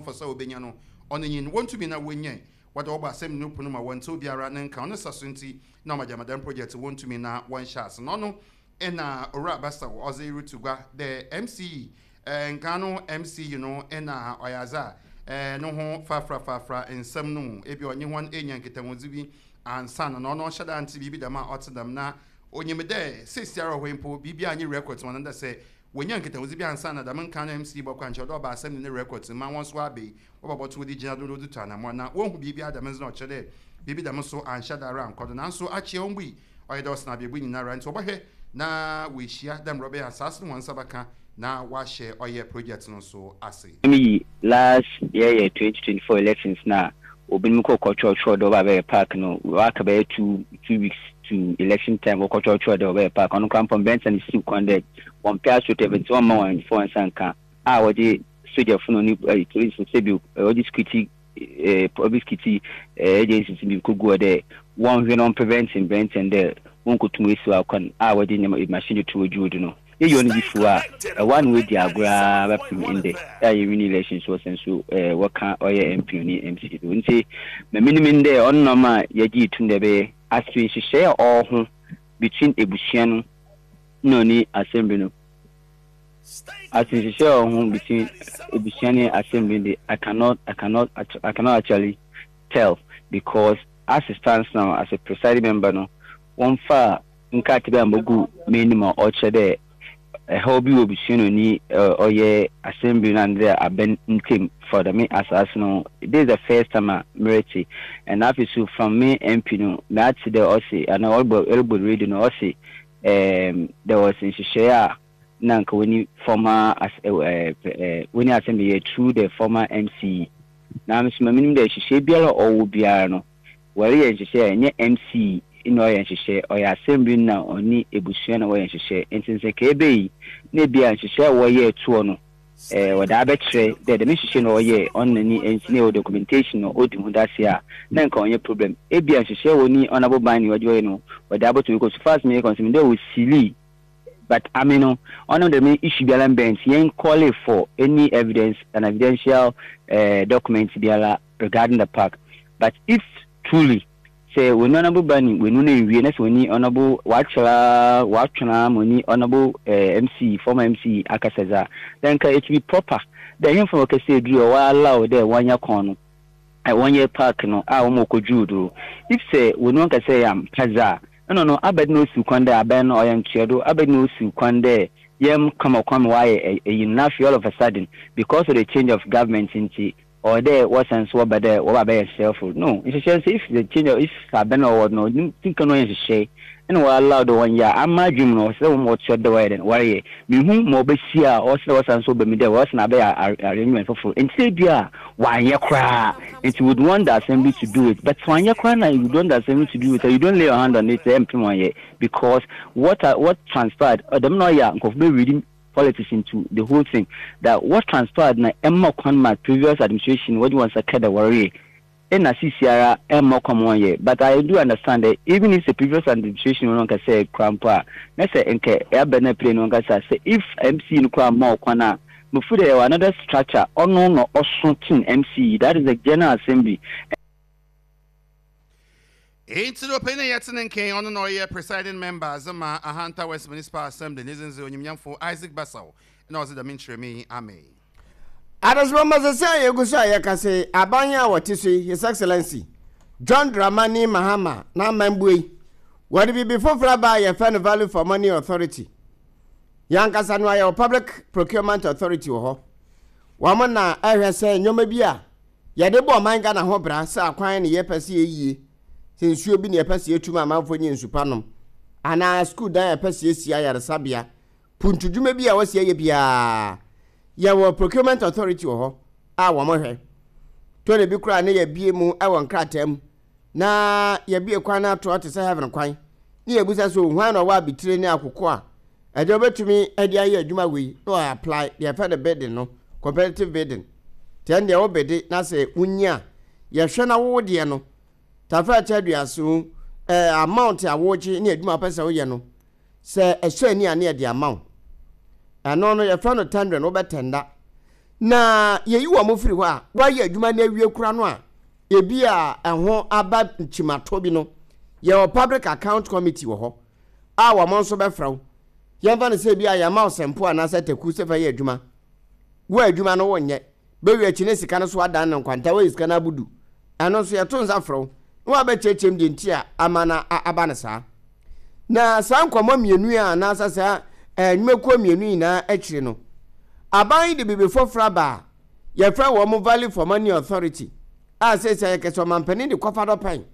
Mfaso a wobenya no, ɔno nye no, wonntum na wonnyae wɔdze wɔbɔ asɛm no pon ma wɔnntse obiara ne nka. Ɔno saso ntsi na ɔma gyama dɛm project wonntum na wɔnnhyɛ ase. Na ɔno na Owura Basaw ɔdze rutu gua dɛ MCE, nkan no MCE no na ɔyɛ adze a no ho faafrafaafra nsɛm no mu, ebia ɔnye hɔn enya nkitahodzi bi ansaana, na ɔno ɔnnhyɛ da nntse biribi dɛm a ɔtse dɛm, na onyim dɛ seseiara wɔ hɔ yi mpo biribiara nnyi records mu, ɔno dɛ sɛ Wonya nkitahodzi bi ansaana dɛm nkan no MC bɔkɔ a nkyɛ ɔdɛ ɔba asɛm no ne records mu ma hɔn so wɔaba yi wɔba bɔto wɔdze gyina do na wɔdze tu anamɔn na wonnhu biribiara dɛm ndze na ɔkyerɛ dɛ biribi dɛm so annhyɛ da ara annkɔ do naaso akyea ommbui ɔyɛ dɛ ɔsen abebu nyinara ntsi wɔbɔhwɛ na woehyia dɛ mbrɛ ɔbɛyɛ a asaase no hɔn nsa bɛka na wɔahyɛ ɔyɛ project no so ase. Miyi last yɛyɛ 2024 elections no a obinom kɔ kɔtwerɛtwerɛ dɛ wɔba abɛyɛ park no wɔaka bɛyɛ 2 weeks to election time, wɔkɔtwerɛtwerɛ dɛ wɔbɛyɛ park. Ɔno koraa mpo mbrɛnsa no siw kwan dɛ wɔmpɛ astroturf nti wɔmma wɔn mfa wɔn nsa nka a wɔdze sogyafo no ne police sɛbi wɔdze security public security agencies bi kogu hɔ dɛ wɔnhwɛ na wɔn prevent mbrɛntsɛn dɛ wɔnkotum esiw akwan a wɔdze nneɛma machine to odwuo do no. Yɛyɛ ɔno bi fi hɔ a ɛwɔ a na wɔadi agorɔ ara bɛpem ndɛ a yɛwin elections wɔ sɛn so wɔka ɔyɛ MP ne MC do. Nti ma menim ndɛ ɔno na ɔma yɛgye tum dɛ ɛbɛyɛ aso nhyehyɛe a ɔwɔ ho between ebusua no na ɔne assembly no, aso nhyehyɛe a ɔwɔ ho between ebusua ne assembly de, I cannot actually tell because as it stands now, as a presiding member no, wɔmfa nkrataa bi a mbogu m'enyim a ɔkyerɛ dɛ ɛhaw bi wɔ ebusua no ni ɔyɛ assembly no and dɛ abɛn ntam for dɛm asaase no. This is the first time a merete, and afei so from me MP no meate dɛ ɔse anaa ɔrebɔ radio no ɔse there was nhyehyɛe a na nka wɔni former as wɔni assembly yɛ through the former MCE, na nso ma menim dɛ nhyehyɛe biara a ɔwɔ biara no wɔreyɛ nhyehyɛe a ɛnyɛ MC na ɔyɛ nhyehyɛe, ɔyɛ assembly na ɔne ebusua na wɔyɛ nhyehyɛe. Nti nsɛ ka ebe yi na ebi a nhyehyɛe a wɔyɛ toɔ no wɔde abɛkyerɛ dɛ dɛm nhyehyɛe na ɔyɛ ɔno ne MC na ɛwɔ documentation na ɔdi ho dase a, na nka ɔnyɛ problem. Ebi a nhyehyɛe wɔ ni honourable ban ne ɔde ɔyɛ no wɔde abɔto because so far as me concern dɛ osili, but I mean no ɔno dɛm issue biara mbɛn nti yɛn call for any evidence and evidential document biara regarding the park. But if truly sɛ wɔni honourable bani wɔnu no nwie na sɛ wɔni honourable wakyerɛ watwena ma wɔni honourable MC, former MC akasa dza, then nka it be proper dɛ hemfa wɔkɛsɛ eduru a wɔ allow dɛ wɔnyɛ kɔn no wɔnyɛ park no a wɔn wɔkɔdwuu do. If sɛ wɔni wɔn kɛsɛ yɛ ampa dza ɛno no abɛde na osiw kwan dɛ abɛn no ɔyɛ ntoɛdo abɛde na osiw kwan dɛ yɛm kama kwan ma wɔayɛ ɛyi no, na afei all of a sudden because of the change of government nti ɔwɔ dɛ wɔsan so wɔba dɛ wɔba bɛyɛ nhyehyɛe no nhyehyɛ nso. If the change of if abɛn a ɔwɔ no tinka no ɔyɛ nhyehyɛe ɛna wɔ allow dɛ wɔnyɛ a ama adwene mu no ɔsɛ dɛ wɔn wɔtoa dɛ wɔyɛ dɛ wɔreyɛ mehu ma ɔbɛsi a ɔsɛ dɛ wɔsan so ba mu dɛ wɔsan abɛyɛ arrangement foforɔ. Nti sɛ bi a wanyɛ koraa nti would want the assembly to do it, but wanyɛ koraa na you want the assembly to do it, you don't lay your hand on it ɛmpem wɔnyɛ because what transpired ɔdɛm na ɔyɛ a nkurɔfo bɛ reading politics into the whole thing, that what transpired na ɛmma kwan ma previous administration wɔde wɔn nsa ka dɛ wɔreyɛ ɛna sisi ara ɛmma kwan ma wɔnyɛ. But I do understand that even if the previous administration wɔn nkasa kura mpo a na sɛ nkɛ ɛabɛ na pere no nkasa sɛ if MC no kura mma ɔkwan a mufu dɛ ɛwɔ another structure ɔno na ɔso tin MC, that is the General Assembly. Nti no ɔpanyin a yɛte ne nkan ɔno na ɔyɛ presiding member dze ma Ahanta West Municipal Assembly ne dzin dze Onyimnyamfo Isaac Basaw na ɔdze dɛm nkyerɛmu yi ama yi. Adesoma sɛ a yɛgu so a yɛka sɛ aban a wɔte so yi, His Excellency John Dramani Mahama n'amambue yi, wɔde biribi foforɔ aba a yɛfrɛ no Value for Money Authority. Yɛn ankasa no ayɛ wɔ Public Procurement Authority wɔ hɔ. Wɔn na ɛhwɛ sɛ nneɛma bi a yɛde bɔ ɔman Ghana ho bra, sɛ akwan ne yɛpɛ sɛ yɛyie, sɛ nsuo bi ne yɛpɛ sɛ yɛtu ma amanfoɔ nyɛ nsu pa nom, anaa sukuu dan a yɛpɛ sɛ yɛsi, ayaresabea, puntudwuma bi a wɔsi ayɛ biara, yɛwɔ Procurement Authority wɔ hɔ a wɔn hwɛ. Tɔ bi koraa ne yɛbie mu wɔ nkrataa mu na yɛbie kwan no atoa te sɛ heaven kwan ne yɛbusa sɛ hwan na ɔwɔ abitire ne akoko a ɛdeɛ wobɛtumi de ayɛ adwuma wei na ɔyɛ apply deɛ yɛfɛ no bidding no, competitive bidding. Tiɛ deɛ wobede na sɛ wonyi a yɛhwɛ na wo deɛ no tafra kyɛ aduaso amount a wogye ne adwuma wopɛ sɛ woyɛ no sɛ ɛsɔ ani a ne yɛde ama wo. Ɛno no yɛfrɛ no tendering, wobɛtɛnda. Na yɛyi wɔn firi hɔ a, wɔayɛ adwuma no awie kora no a, ebi a ɛho aba nkyimatɔ bi no, yɛwɔ Public Account Committee wɔ hɔ a wɔn nso bɛfrɛ wo. Yɛmfa no sɛ ebi a yɛama wo sɛmpo anaasɛ taku sɛ fa yɛ adwuma. Wo adwuma no wonyɛ. Bɛwie akyi ne sika no so adan no nkwanta, woayi sika no abodu. Ɛno nso yɛto nsa frɛ wo na woabɛkyerɛkyerɛ mu deɛ nti a ama no aba no saa. Na saa nkɔmmɔ mmienu yi anaasɛ saa nnwumakuo mmienu nyinaa akyiri no, aban yi de biribi foforɔ aba a yɛfrɛ wɔn Value for Money Authority a seesei ayɛ kɛse ɔmampanin de kɔfa dɔpɛn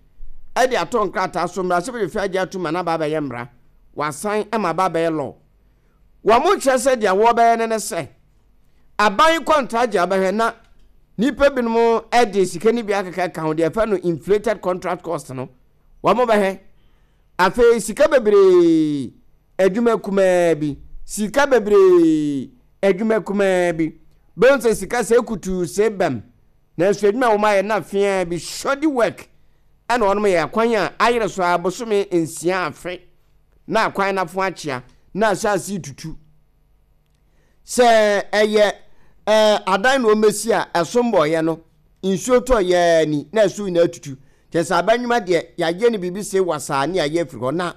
de ato nkrataa so mmarahyɛbadwafie agye atum ma no aba abɛyɛ mmara, wɔasan ma aba abɛyɛ law. Wɔn kyerɛ sɛ deɛ wɔbɛyɛ no ne sɛ aban kɔntragye a wɔbɛhwɛ na nnipa binom de sika no bi akeka ka ho deɛ yɛfrɛ no inflated contract cost no wɔn bɛhwɛ. Afei sika bebree adwuma kumaa bi, sika bebree adwuma kumaa bi. Bɛhu sɛ sika sɛ kutuu sɛ bam, nanso adwuma a wɔn ayɛ na feaa bi, shoddy work, ɛna wɔn yɛ akwan a ayere so ara bosome nsia afe na akwan no afo akyea na ahyɛ tutu. Sɛ ɛyɛ ɛɛ adan na wɔbɛsi a ɛso mbɔeɛ no, nsuo tɔ yɛɛ ni na ɛso nyinaa tutu. Kyerɛ sɛ aba nnwuma deɛ yɛayɛ no biribi se wasaa ne yɛayɛ afiri hɔ na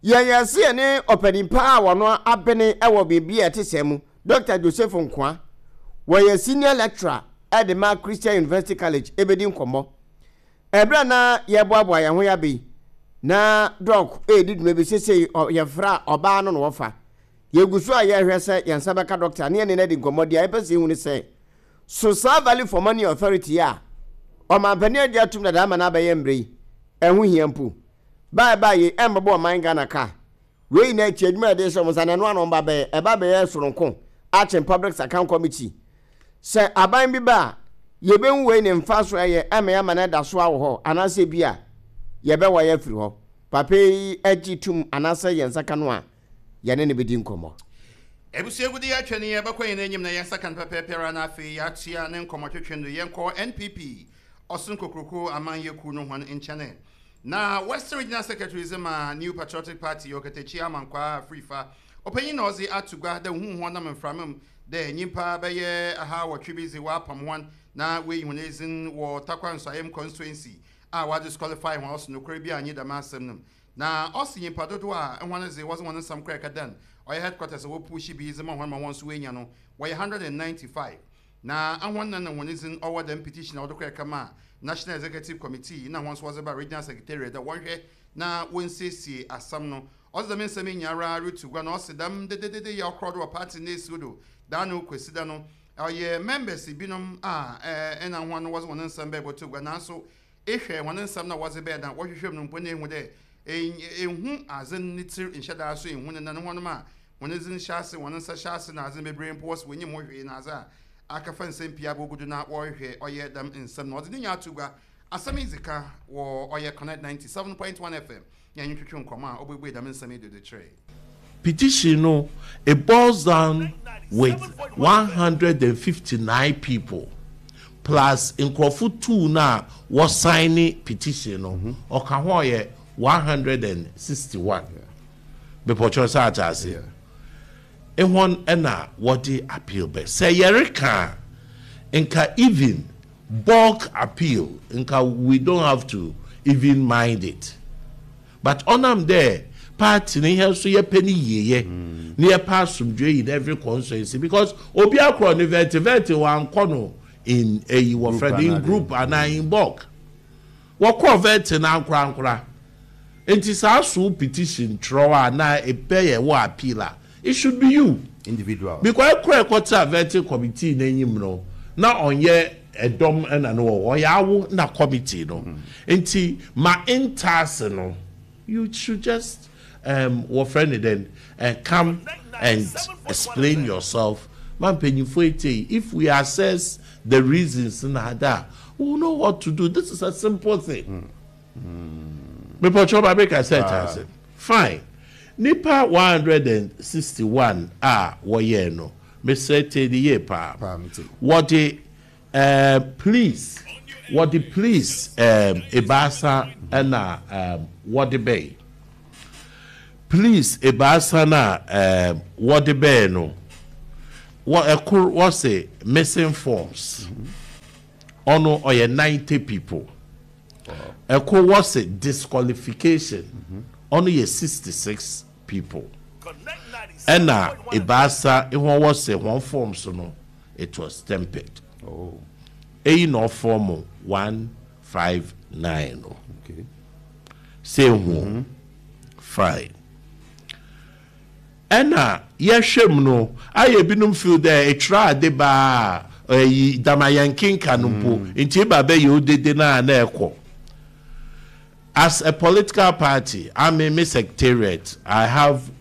yɛyɛ se yɛne ɔpanin pa a wɔno abene wɔ biribi a ɛte sɛɛ mu, Dr. Joseph Nkoa, wɔyɛ senior lecturer de ma Christian University College ɛbɛdi nkɔmmɔ. Ɛberɛ a na yɛreboaboa yɛn ho yɛaba yi, na Doc redi dwuma bi sesei yɛfrɛ a ɔbaa no na wɔfa. Yɛgu so a yɛrehwɛ sɛ yɛn nsa bɛka dɔkta ne yɛne no adi nkɔmmɔ. Deɛ yɛpɛ sɛ yɛhu ne sɛ, so saa Value for Money Authority yi a ɔmanpanin agye atom dada ama no abɛyɛ mmerɛ yi, ɛho hia mpo? Ba a ɛbaa yei ɛmmɛbɔ ɔman Ghana ka. Wei nyinaa akyi, adwuma a yɛde rehyɛ wɔn nsa no, ɛno ara na wɔba bɛyɛ. Ɛba bɛyɛ soronko akyen Public Account Committee. Sɛ aban bi ba a, yɛbɛhu wei ne mfaso a ɛyɛ ɛma yɛama no ada so ara wɔ hɔ anaasɛ bi a yɛbɛwae afiri hɔ. Papa yi gye tom anaasɛ yɛn nsa ka no a, yɛne no bɛdi nkɔmmɔ. Abusua gude yɛatwa ni yɛbɛkɔ yɛn anim na yɛn nsa ka no pɛpɛɛpɛ ara na afei yɛatua ne nkɔmmɔtwetwe no yɛnkɔ NPP Ɔsom Kokroko Amanyɛ Kuw no hɔn nkyɛn na Western Regional Secretary dze ma New Patriotic Party Ɔkatakyie Amankwaa Afrifa ɔpanyin na ɔdze ato gua dɛ ohun hɔn nam mframa mu dɛ nyimpa bɛyɛ ahaawɔtwe bi dze wɔapam hɔn na woeyi hɔn edzin wɔ Tarkwa Nsuaem Constituency a wɔadisqualify hɔn ɔse nokwar biara nnyi dɛm asɛm no mu. Na ɔse nyimpa dodow a hɔn dze wɔdze hɔn nsɛm kɔr kɛdan ɔyɛ headquarters a wopuuhye bi dze ma hɔn ma hɔn so woenya no wɔyɛ 195. Na hɔn na nna hɔn dzin ɔwɔ dɛm petition a wɔdze kɔr kɛmaa National Executive Committee na hɔn so wɔdze baa Regional Secretariat dɛ wɔnhwɛ na wonsiesie asɛm no. Ɔdze dɛm nsɛm yi nyinara rutu gua na ɔse dɛm dededede yi a ɔkrɔw do wɔ party no esiw do daano Kwesida no ɔyɛ members binom a nna hɔn wɔdze hɔn nsɛm bɛbɔto gua naaso Ehwɛ hɔn nsɛm na wɔdze bɛyɛ na wɔhwehwɛ mu no mpo na ehu dɛ ennhu adze no ne tsir nnhyɛ da so ennhu ne nan hɔnom a hɔn dzin hyɛ ase, hɔn nsa hyɛ ase na adze beberee mpo wɔse wonnyim ho hwee na adze a akɛfa nsɛm pii abogu do na wɔrohwehwɛ ɔyɛ dɛm nsɛm no. Ɔdze ne nyinaa to gua. Asɛm yi dzi ka wɔ ɔyɛ Connect 97.1 FM nye anyi twetwe nkɔmbɔ a obuebue dɛm nsɛm yi do dze kyerɛe. Petition no, it boils down with 159 people plus nkurɔfo two no a wɔ signe petition no, ɔka ho a ɔyɛ 161. Mepɔkyɛw sɛ ate ase? Ehɔn na wɔde appeal bɛ. Sɛ yɛreka a, nka even bulk appeal, nka we don't have to even mind it. But ɔnam dɛ party no hɛn so yɛpɛ ne yieyɛ na yɛpɛ asomdwee in every constituency because obi akorɔ ne vɛte vɛte wɔannkɔ no in eyi wɔfrɛ no in group anaa in bulk wɔkɔɔ vɛte no ankorankora ntsi sɛ asow petition kyerɛw a na epɛ yɛ wɔ appeal a it should be you Individual. Because kor a ɛkɔtsena vetting committee n'enyim no na ɔnnyɛ dɔm na no wɔ hɔ, ɔyɛ awo na committee no. Ntsi ma ntaase no, you should just um, wɔfrɛ no dɛn, eh, come and explain yourself ma mpanyimfo etsie. If we assess the reasons na adze a, we will know what to do. This is a simple thing. Mepɔkyɛw ma meka sɛ kyase. Fine. Nipa 161 a wɔyɛɛ no, mesrɛ tie no yie paa. Wɔde um, please, wɔde please um, ebaasa na um, wɔde bɛe. Please ebaasa no a um, wɔde bɛe no, Wɔ ɛkor wɔse missing forms, ɔno ɔyɛ 90 people. Ɛkor wɔse disqualification, ɔno yɛ 66 people. Ɛna ebiasa hɔn wɔse hɔn forms no it was tempered. Eyi na ɔform 159 no. Sɛ ehu o, fine. Ɛna yɛhwɛ mu no, ayɛ binom feel dɛ etwerɛ ade baa a, ɛyi dama yɛnkenka no mpo, nti eba bɛyɛ odede no a na ɛkɔ. As a political party, ame me secretariat, I have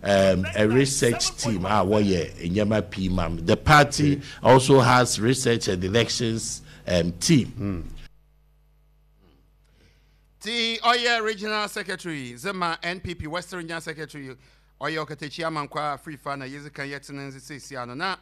a research team a wɔyɛ nneɛma pii ma me. The party also has research and elections team. Ti ɔyɛ Regional Secretary dze ma NPP Western Regional Secretary ɔyɛ Ɔkatakyie Amankwaa Afrifa na yedzi kan yɛtse ne ndze seisia no na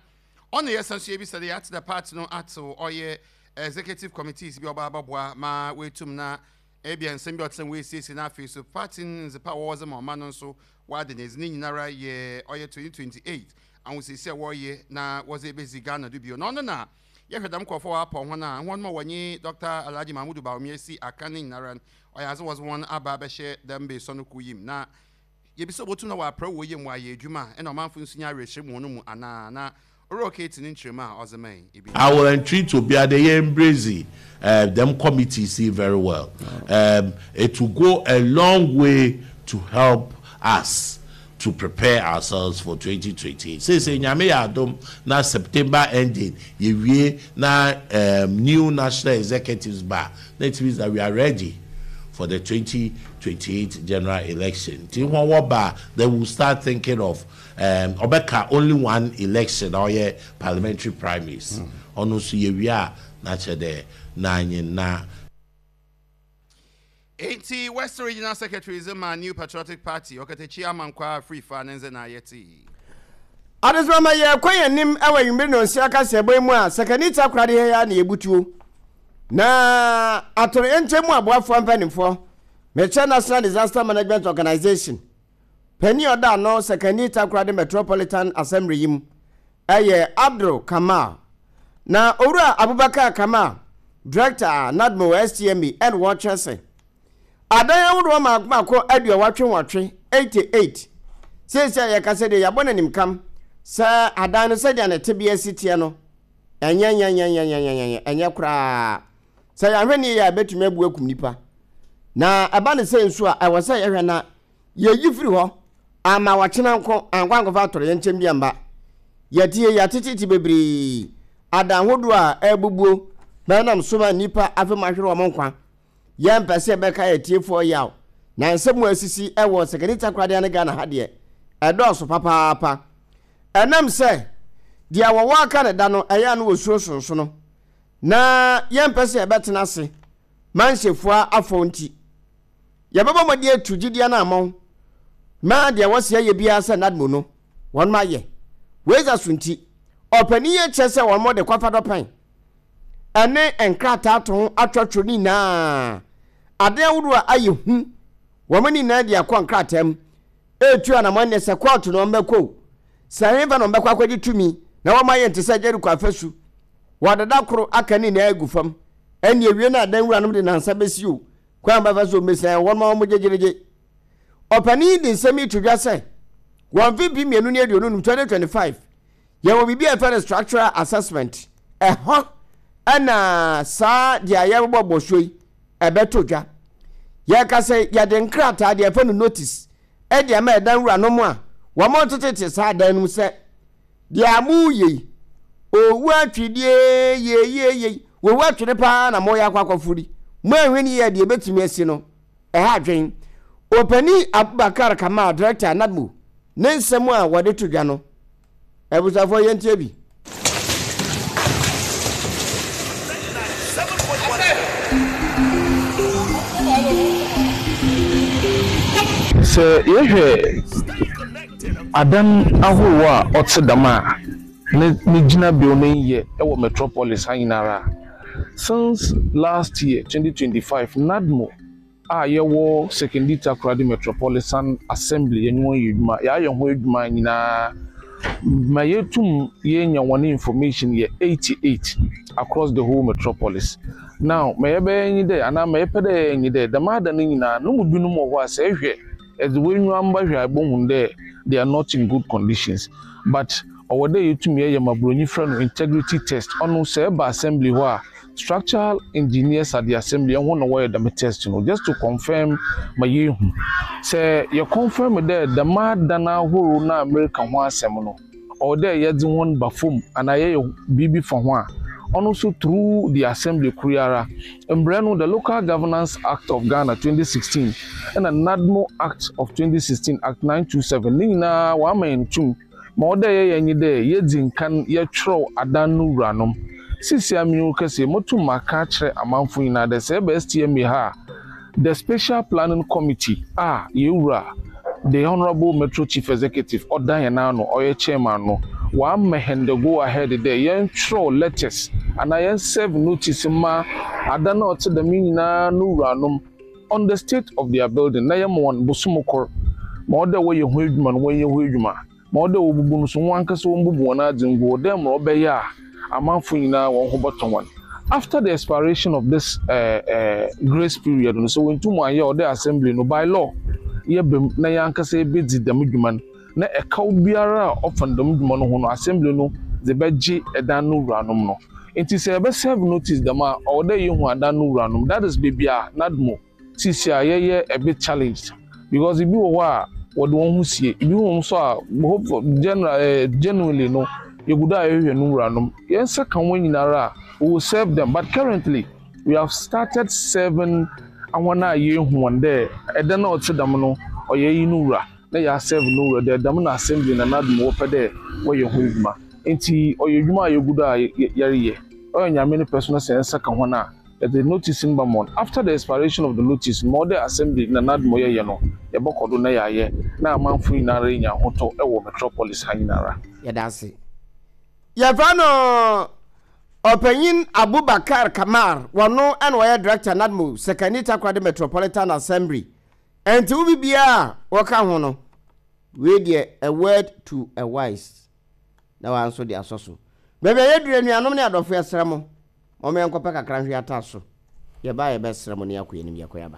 ɔno yɛsan so yebisa dɛ yɛatse dɛ party no atsew ɔyɛ Executive Committees bi a ɔba abɔboa ma woetum na ebia nsɛm bi a ɔtse dɛm woesiesie na afei so party no ndzepa a wɔwɔ dze ma ɔman no nso wɔada no edzi. Ne nyinara yɛ ɔyɛ 2028 ahosiesie a wɔreyɛ na wɔdze ebedzi Ghana do bio na ɔno na Yɛhwɛ dɛm nkorɔfo a wɔapɔw hɔn a, hɔn ma wɔnye Dɔkta Alhaji Mahmudu Bawumia si akan no nyinara no, ɔyɛ adze wɔdze hɔn aba abɛhyɛ dɛm beesuon no kuw yi mu. Na yebisa obotum na wɔaprɛw wɔ yamu ayɛ edwuma a, nna ɔmamfo no so nya awerɛhyɛmu wɔ hɔn mu anaa? Na Owura Okeeti ne nkyerɛmu a ɔdze mae bi nye. I will entreat obiara dɛ yɛ embrace dɛm committees yi very well. It will go a long way to help us to prepare ourselves for 2028. Seesei Nyame yɛ adom na September ending yɛwie na new national executives ba a, na it means that we are ready for the 2028 general election. Nti hɔn wɔba a, then we will start thinking of ɔbɛka only one election a ɔyɛ parliamentary primaries. Ɔno nso yɛwie a na kyerɛ dɛ na nye na. Enti West Regional Secretary dze ma New Patriotic Party, Ɔkatakyie Amankwaa Afrifa ne ndze na yɛtse yi. Adesoma ma yɛrekɔ yɛn anim wɔ anwummere nnɔnsia kaseɛbɔ yi mu a Sakani Takoradi ha yi ara na yɛbutuo. Na atoyerɛnkyɛm mu aboafoɔ mpanimfoɔ, mekyerɛ National Disaster Management Organization, panin a ɔda ano Sakani Takoradi Metropolitan Assembly yi mu yɛ Abdul Kamal. Na Owura Abubakar Kamal, Director a NADMO STMA ɛna wɔkyerɛ sɛ adan ahodoɔ mmaako mmaako aduɔwɔtwe nwɔtwe, 88, seesei a yɛkasa deɛ yɛabɔ no animkam sɛ adan no sɛdeɛ ne tebea si teɛ no ɛnyɛ nyɛnyɛnyɛnyɛnyɛnyɛ ɛnyɛ koraa. Sɛ yɛanhwɛ ne yie a ɛbɛtumi abu akum nipa. Na ɛba ne sɛ nso a ɛwɔ sɛ yɛhwɛ na yɛyi firi hɔ amma ɔkyena nko ankɔ ankɔfa atoyerɛnkyɛm bi amma. Yɛte yɛatetete bebree, adan hodoɔ a ɛrebubuo ma ɛnam so ma nnipa afe mu ahwere wɔn nkwa. Yɛmpɛ sɛ yɛbɛka yɛn atiefoɔ yaw, na nsɛm a asisi wɔ Sekani Takoradi ne Ghana ha deɛ, ɛdɔɔso papaapa. Ɛnam sɛ deɛ wɔwɔ aka no da no, ɛyɛ a na wɔsuro sonsono, na yɛmpɛ sɛ yɛbɛtena ase ma nhyɛfua afɔw nti, Yɛbɛbɔ mmɔden atu gyidi anammɔn ma deɛ wɔse yɛyɛ biara sɛ NADMO no, wɔnom ayɛ. Wei dza so nti, ɔpanin yi kyerɛ sɛ wɔnom de kwafa dɔpɛn ɛne nkrataa to ho atwerɛtwerɛ ne nyinaa, adeɛ ahodoɔ a ayɛ hu, wɔn ne nyinaa de akɔ nkrataa mu ɛretu anammɔn ne sɛ kɔɔto na wɔn bɛkɔ o, sɛ hefa na wɔn bɛkɔ akɔgye tumi na wɔn ayɛ nte sɛ Jericho afasu, wɔde da koro aka ne nyinaa agu fam, ɛne awie no adan wuranom de nansa bɛsi o, Kwan a wɔbɛfa so mmesian wɔn ma wɔgyegyeregye. Ɔpanin yi de nsɛm yi to dwa sɛ, wɔ mfe 2025, 2025, yɛwɔ biribi a yɛfrɛ no structural assessment. Ɛhɔ na saa deɛ yɛrebɔbɔ so yi ɛbɛto dwa. Yɛka sɛ yɛde nkrataa deɛ yɛfrɛ no notice de ama ɛdan wuranom a wɔretetete saa dan no mu sɛ Deɛ a moreyɛ yi, owu atwedeɛ yeyeyei, owu atwene paa na moreyɛ akɔ akɔforo yi. Moanhwɛ no yie a deɛ ɛbɛtumi asi no, ɛha adwen. Ɔpanin Abubakar Kamal, Director, NADMO, ne nsɛm a wɔde to dwa no, abusuafoɔ yɛntie bi. Sɛ yɛhwɛ Adan ahorow a ɔtse dɛm a ne ne gyinabew no nnyɛ wɔ metropolis ha nyinara. Since last year, 2025, NADMO a yɛwɔ Sekondi-Takoradi Metropolitan Assembly yɛnye hɔn yɛ edwuma, yɛayɛ ho edwuma nyina. Ma yetum yeenya hɔn information yɛ 88 across the whole metropolis. Now, ma yɛbɛyɛ nye dɛ, anaa ma yɛpɛ dɛ yɛyɛ nye dɛ, dɛm adan no nyina, no mu binom wɔ hɔ a sɛ ehwɛ, edze w'enyiwa hwɛ a ebohu dɛ they are not in good conditions. But ɔwɔ dɛ yetum yɛyɛ ma Buronyi frɛ no integrity test. Ɔno sɛ eba assembly hɔ a, structural engineers at the assembly hɔn na wɔyɛ dɛm test no just to confirm ma yeehu. Sɛ yɛ confirm dɛ dɛm adan ahorow no a mereka ho asɛm no, ɔwɔ dɛ yɛdze hɔn ba famu anaa yɛyɛ biribi fa ho a, ɔno so through the assembly kor yi ara. Mbrɛ no, the Local Governance Act of Ghana 2016 na NADMO Act of 2016, Act 927, ne nyina wɔama hɛn tum ma ɔwɔ dɛ yɛyɛ nye dɛ yedzi nkan yɛkyerɛw adan no wuranom. Sesei a menye wo kasa yi, motum makã akyerɛ amamfo nyina dɛ sɛ eba STMA ha a, The Special Planning Committee a yɛn wura, the Honourable Metro Chief Executive ɔda hɛn ano, ɔyɛ chairman no, ɔama hɛn the go ahead dɛ yɛnkyerɛw letters anaa yɛn serve notice mma adan a ɔtse dɛm yi nyina no wuranom on the state of their building na yɛma hɔn bosoom kor ma ɔwɔ dɛ wɔyɛ ho edwuma no wɔnyɛ ho edwuma. Ma ɔwɔ dɛ wobubu no so, hɔn ankasa wombubu hɔn adze ngu hɔ dɛ mbrɛ ɔbɛyɛ a amamfo nyina hɔn ho bɔtɔ hɔn. After the expiration of this grace period no, sɛ woenntum annyɛ a, ɔwɔ dɛ assembly no by law yɛba mu na hɛnankasa yebedzi dɛm dwuma no, na ɛkaw biara a ɔfa dɛm dwuma no ho no, assembly no dze bɛgye dan no wuranom no. Ntsi sɛ yɛbɛ serve notice dɛm a, ɔwɔ dɛ yehu adan no wuranom, that is beebi a NADMO Sisi a yɛyɛ a bit challenged because ebi wɔ hɔ a wɔde wɔn ho sie, ebi wɔ hɔ nso a hope for general eh, genuinely no yɛgu do a yɛhwehwɛ no wuranom. Yɛn nsa ka wɔn nyinara a we will serve them, but currently we have started serving ahɔn a yɛhu wɔn dɛ ɛdan a ɔte dɛm no ɔyɛ iyi no wura na yɛasɛve no wura dɛ dɛm na assembly na n'adom wɔpɛ dɛ wɔyɛ ho edwuma. Ntsi ɔyɛ edwuma a yɛgu do a yɛreyɛ. Ɔyɛ Nyame ne pɛ so na sɛ yɛn nsa ka hɔn a Yɛdze notice no bɛma hɔn. After the expiration of the notice no, ma ɔwɔ dɛ assembly na n'adom yɛyɛ no, yɛbɔkɔ do na yɛayɛ na amamfo nyinara enya ahotɔ wɔ metropolis ha nyinara. Yɛda ase. Yɛfrɛ no Ɔpanyin Abubakar Kamar, wɔno na ɔyɛ Director NADMO Sekani Takoradi Metropolitan Assembly. Ɛnti wo bibiara a wɔka ho no, wei deɛ a word to a wise na wa nso de asɔ so. Baabi a yɛduru anuanom ne adɔfo yɛsrɛ mo, Momma yɛnkɔpɛ kakra nhwe ata so. Yɛba a yɛbɛsrɛ mo na yɛakɔ yɛn anim, yɛkɔ yɛaba.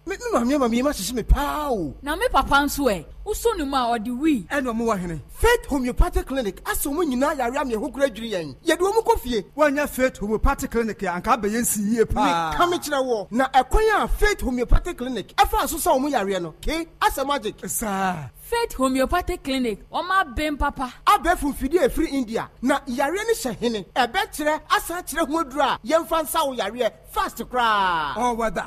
Me me maame ama me yam ahyehye me paa o. Na me papa nso ɛ? Wosɔ ne mu a, ɔde wui. Ɛna ɔmo wɔ hene? Faith Homeopathic Clinic asa ɔmo nyinaa yare ama ɛho koraa dwiri yɛn. Yɛde ɔmo kɔ fie. Woannya Faith Homeopathic Clinic a, anka abɛyɛ nsi yie paa. Meka mekyerɛ woɔ, na ɛkwan a Faith Homeopathic Clinic faa so sa ɔmo yareɛ no, kei, asɛ magic. Saa. Faith Homeopathic Clinic, wɔn aben papa. Abɛɛfo mfidie a ɛfiri India, na yareɛ no hyɛ hene? Ɛbɛkyerɛ asan akyerɛ ho aduro a yɛmfa nsa wo yareɛ fast koraa. All weather.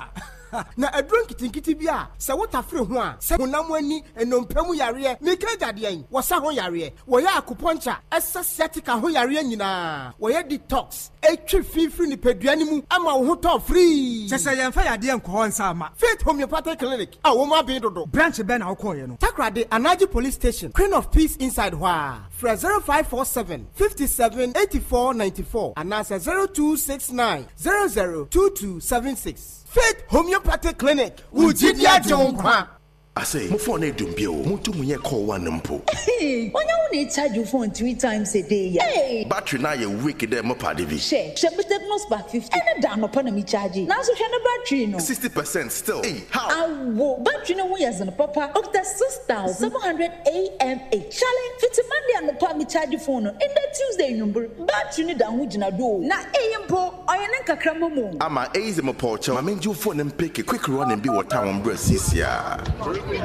Na aduro nketenkete bi a sɛ wo tafere ho a, sɛ honam ani, nnompe mu yareɛ, meka agya deɛn, wɔsa ho yareɛ, wɔyɛ acupuncture, ɛsa sciatica ho yareɛ nyinaa, wɔyɛ detox, ɛtwe fi firi nipadua no mu ma wo ho tɔ firii. Kyerɛ sɛ yɛmfa yadeɛ nkɔ hɔ nsa mma. Faith Homeopathic Clinic a wɔn aben dodo. Branch bɛn na wokɔeɛ no? Takoradi, Anaji Police Station, Queen of Peace inside hɔ ara. Frɛ 0547 57 84 94 anaasɛ 0269 00 2276. Faith Homeopathic Clinic, wo gyidi agye wo nkwa. Ase, mo phone no edum bio, munntum nnyɛ call one mpo. Hey, onya wo na echarge wo phone 3 times a day ya. Hey! Battery no ayɛ weak dɛ mo pade bi. Hwɛ, hwɛ me Tecno Spark 50, ɛne da anɔpa na me charge, nanso hwɛ ne battery no. 60% still, ei, how? Awo, battery no ho yɛ dzen papa, okita 6700 AMH. Charlie, fitsi Monday anɔpa a me charge phone no, ndɛ Tuesday ewimbir, battery no da ho gyina do o. Na iyi mpo, ɔyɛ ne nkakramba mu o. Ama eyi dze mopɔw kyɛw, ma mengye wo phone mpeke quick running bi wɔ town mbra siesie a. Yeah,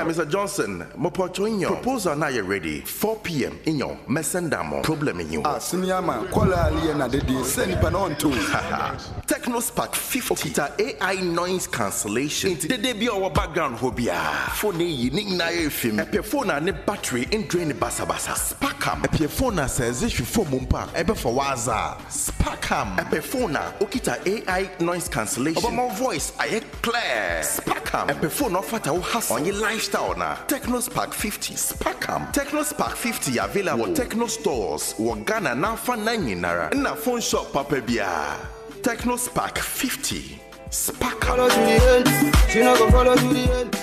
Mr. Johnson, mopɔw kyɛw nyew, proposal no ayɛ ready, 4 p.m. nyew, mɛsend ama wo, problem nnyi hɔ. Ah sini ama kɔla a leyɛ na dede sɛ nipa na ɔnte o. Haha, Tecno Spark 50, okita AI noise cancellation, ntsi dede bi a ɔwɔ background hɔ biara, phone eyi ne nyinaa yɛ efim. Epɛ phone a ne battery nndrain basabasa? Sparkam. Epɛ phone a sɛ edze hwe famu mpo a ebɛfa w'adze a? Sparkam. Epɛ phone a okita AI noise cancellation, ɔbɛma wo voice ayɛ clear? Sparkam. Epɛ phone a ɔfata wo hustle, ɔnye lifestyle na? Tecno Spark 50. Sparkam. Tecno Spark 50 yɛ available wɔ Tecno stores wɔ Ghana n'afanan nyinara nna phone shop papa biara. Tecno Spark 50. Sparkam. Follow to the end. She no go follow to the end.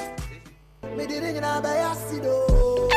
Me didn't know.